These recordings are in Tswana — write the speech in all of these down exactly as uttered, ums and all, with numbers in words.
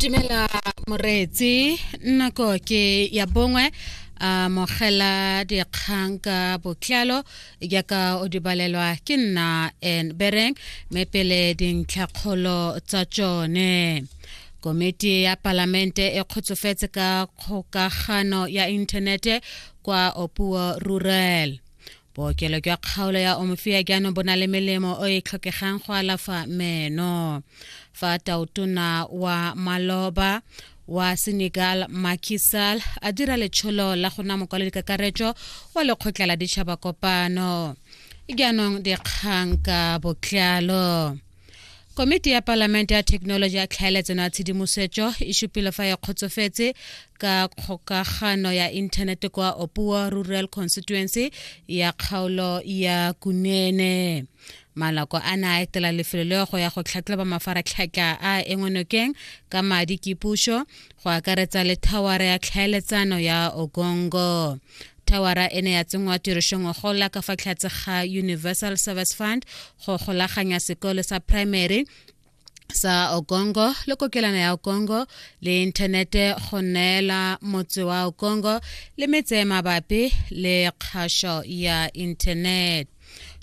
Dumela moreetsi, nako ke ya bongwe. Amogela dikgang ka botlalo jaaka o di balelwa ke nna N Bereng, mme pele dintlhakgolo tsa tsone. Komiti ya palamente e kgotsofetse ka kgokagano ya inthanete kwa Opuo Rural. Bookelo jwa kgaolo ya Omofia jaanong bo na le melemo o e tlhokegang go alafa meno. Fa tautona wa maloba wa Senegal Macky Sall a dira letsholo la go nna mokwaledi kakaretso wa lekgotla la ditšhaba kopano. Jaanong dikgang ka botlalo. Komiti ya palamente ya thekenoloji ya tlhaeletsano ya tshedimosetso e supile fa e kgotsofetse ka kgokagano ya inthanete kwa Opuo Rural Constituency ya kgaolo ya Kunene. Maloko a ne a etela lefelo leo go ya go tlhatlhoba mafaratlhatlha a engwenokeng ka madi ke puso, go akaretsa le thawara ya tlhaeletsano ya Ogongo. Thawara e ne ya tsenngwa tirisong gola ka fa tlhatse ga Universal Service Fund go golaganya sekolo sa primary sa Ogongo le kokelana ya Ogongo le inthanete, go neela motse wa Ogongo le metse e mabapi le kgašo ya internet.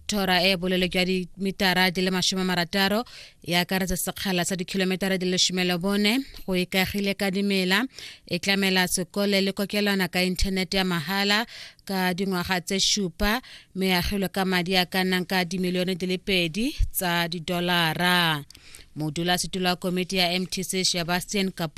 Thora e bolelo jwa dimitara di le masome marataro e akaretsa sekgala sa dikilometara di le lesome le bone go ikaegile ka dimela, e tlamela sekole le kokelwana ka inthanete ya mahala ka dingwaga tse šupa, mme e agilwe ka madi a ka nnang ka dimilione di le pedi tsa didolara. Modulasetulo wa komiti ya M T C Sebastian Kapu